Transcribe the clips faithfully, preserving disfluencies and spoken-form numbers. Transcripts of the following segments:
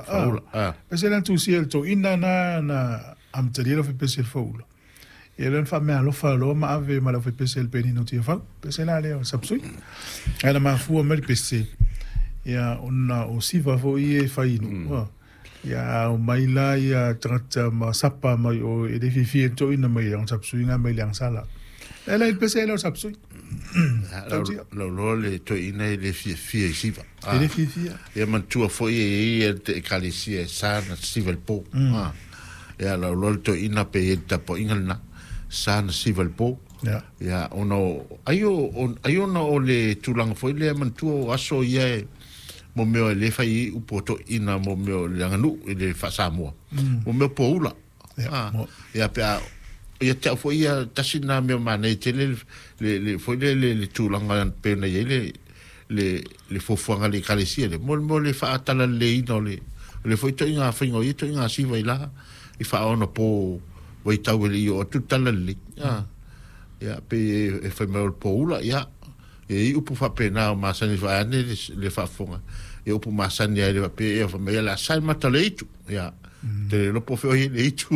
Faaula. Faaula, ah. Pese le tusi el to ina na na amatalia le pese le faaula. Ia lea na faameaalofa loa ma ave ma le aufaipese a le Penina o Tiafau. Pese la lea o le sapsui. Ae na mafua mai le pese, ia ona o siva foi ia e fai i nuu. Mm. Ia a omai la ia tagata ma sapa mai o e le fiafia i le toeaina mai le sapsui nga mai le agasala. E le pese le o sapsui. Tautia. Lau loa le toeaina e le fiafia i siva. E le fiafia. Ia manatua foi e i ai le ekalesia e sa na siva i le po. Ia lau loa le toeaina pe i ai le tapuaiga lena. Sa na siva i le po. Ia ona o ai o ai ona o le tulaga foi lea manatua o aso ia e mo mea e le fai ai upu o toeaina mo mea o le aganuu i le faa-Samoa. Mo mea o poula. Ia pe a ia te au foi ia tasi na mea manaia tele le le foi le le le tulaga pe na i ai le le le fuafuaga a le ekalesia le mo mo le faatalaleleiina o le o le foi toaiga faiga o ia toaiga siva i la i faaonapo vaitau e le i oo atu le talalelei a ia pe e fai mai o le poula ia e i upu faapena o masani vaeane le le faafofoga ia upu masani ai le faapea ia fai mai ia le a sae mata o le itu ia te le iloa po o fea o i ai le itu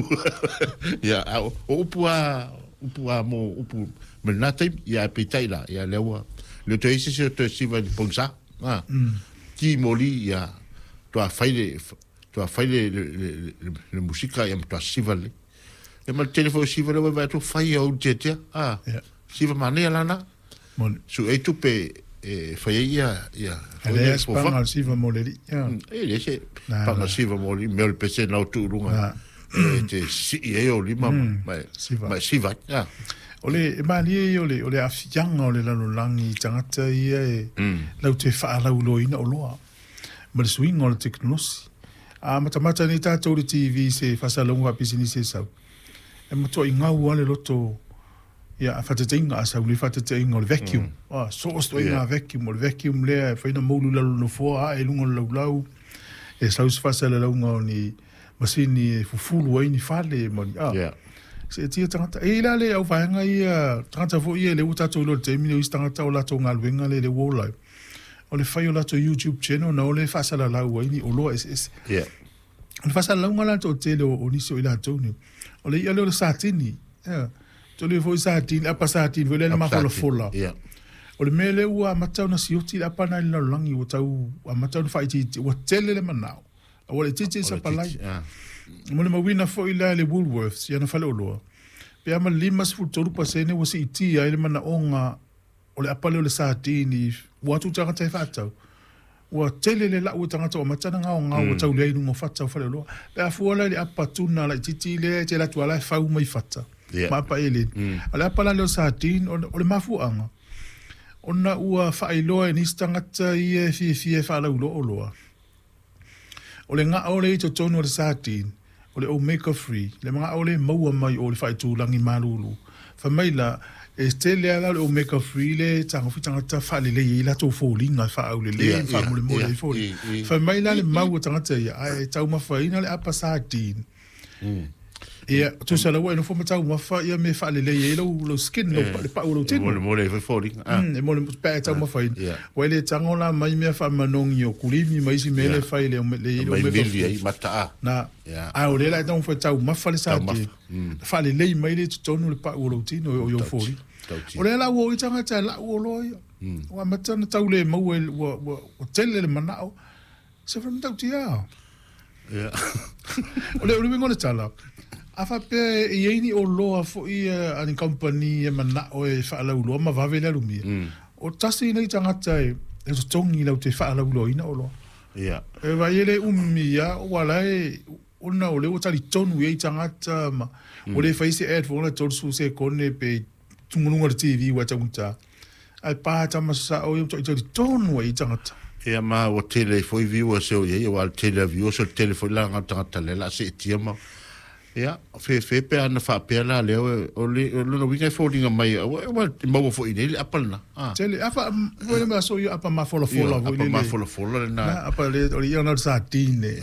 ia a o upu a upu a mo upu mai lena taimi ia ae peitai la ia lea ua le o toe i ai se isi o toe siva i le pogisa a ki moli ia toa fai le toa fai le le le le musika ia ma toa siva lelei ia ma le tele foi o siva lea ua vaai atu fai ia ou tiatia a siva manaia la na Moni. Su ai tupe e fai ai ia ia E leai se paga o le siva mo le alii. E leai se paga o le siva mo le alii, mea o le pese na o tuuluga e te sii ai ou lima ma e siva ai. O le e malie ia o le o le aafiaga o le lalolagi i tagata ia e latou te faalauiloaina oloa ma le suiga o le tekonolosi. A matamata nei tatou i le T V i se faasalalauga faapisinisi e sau, e matuai gau lava le loto. Ia, a faataitaiga, a sau nei faataitaiga o le vacuum, mm. so o se ituaiga yeah. vacuum, o le vacuum lea e fai na moulu i lalo o le nofoa, ae i luga o le laulau, e sau se faasalalauga o ni masini e fufulu ai ni fale ma ni, ah. Yeah. Seetia tagata. E i ai la le auvaega ia, tagata foi ia lea ua tatou iloa i le taimi lenei, o isi tagata o latou galuega lea lea ua ola ai. O le fai o latou YouTube channel na o lea e faasalalau ai ni oloa eseese. Yeah. O le faasalalauga la le toatele o, o nisi o i latou nei, o le i'a lea o le satini. Yeah. Tolu foi sardine, apa sardine foi lea le mafolafola. Yeah. O le mea lea ua amata ona sioti le apa lena i le lalolagi, ua tau amata ona faaitiitia, ua tele le manao. A ua laitiiti le sapalai. Molimauina foi la e le Woolworths i ana faleoloa, pe a ma le limasefulu tolu pasene ua siitia ai le manaoga o le apa lea o le sardine ua atu tagata e faatau. Ua tele le lau o tagata ua amata ona gaogao ua tau leai i luga o fata o faleoloa. Pe a fua la i le apa tuna laitiiti lea e te alu atu lava la e fau mai fata ma apa eleni. A o le apa la lea o sardine, o le mafuaaga, ona ua faailoa e nisi tagata ia e fiafia e faalauiloa oloa. O le gao lea i totonu o le sardine, o le omega three, le gao lea e maua mai o le faaitulagi malulu. Fai mai la, e tele lava la o le omega three lea e tagofi tagata faalelei ai latou foliga e faaaulelei ma faamolemole ai foliga. Fai mai la le mau a tagata ia, ae taumafaina le apa sardine. Ia, tusa la ua e nofo ma taumafa ia mea e faalelei ai lou, lou skin, lou, le pau o lou tino. E molemole ai foi foliga. Mm, e molemole, pe a taumafaina. Ua e le tago la mai mea faamanogi o kulimi ma isi mea le fai le, le, le Mai omega mili ai mata a. Na, a o lea la e taumafai e taumafa le sardine. Faalelei mai le totonu le pau o lou tino o iou foliga. O lea la ua o i tagata e lau oloa ia. Ua amata ona tau le maua, ua, ua, ua tele le manao. Se whakamatautī Ia. O le uiga o le tala, a faapea e i ai ni oloa foi a ni kamupani e manao e faalauiloa ma vave le alumia, o tasi nei tagata e totogi lau te faalauiloaina oloa. Ia. E vaai e le umi ia, ua la e, ona o lea ua talitonu i ai tagata ma, ua le fai se ad foi la tolu sekone pe tuguluga o le T V ua taugata. Ae pa tama sasao ia ua talitonu ai tagata. Ia ma ua tele ai foi viewers e o i ai, aua o le tele a viewers o le tele foi laga o tagata lea o le a seetia ma ia fefe pe ana faapea la lea o le o lona uiga e foliga mai ua ua maua foi i nei le apa lena. Ah. Tele apa foi le mea so ia apa mafolafola foi Apa le. Mafolafola lena. Na apa le o le ia na o le sardine.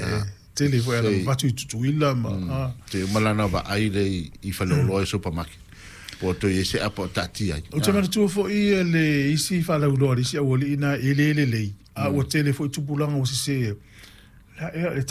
Tele foi ala vatu i Tutuila ma ah. Te uma lana vaai le i faleoloa i supermarket. Po o toe i ai se apa o taatia ai. Ou te manatua foi le isi faalauiloa a le isi aualii na e le lelei, a ua tele foi tupulaga ua sese. La ea le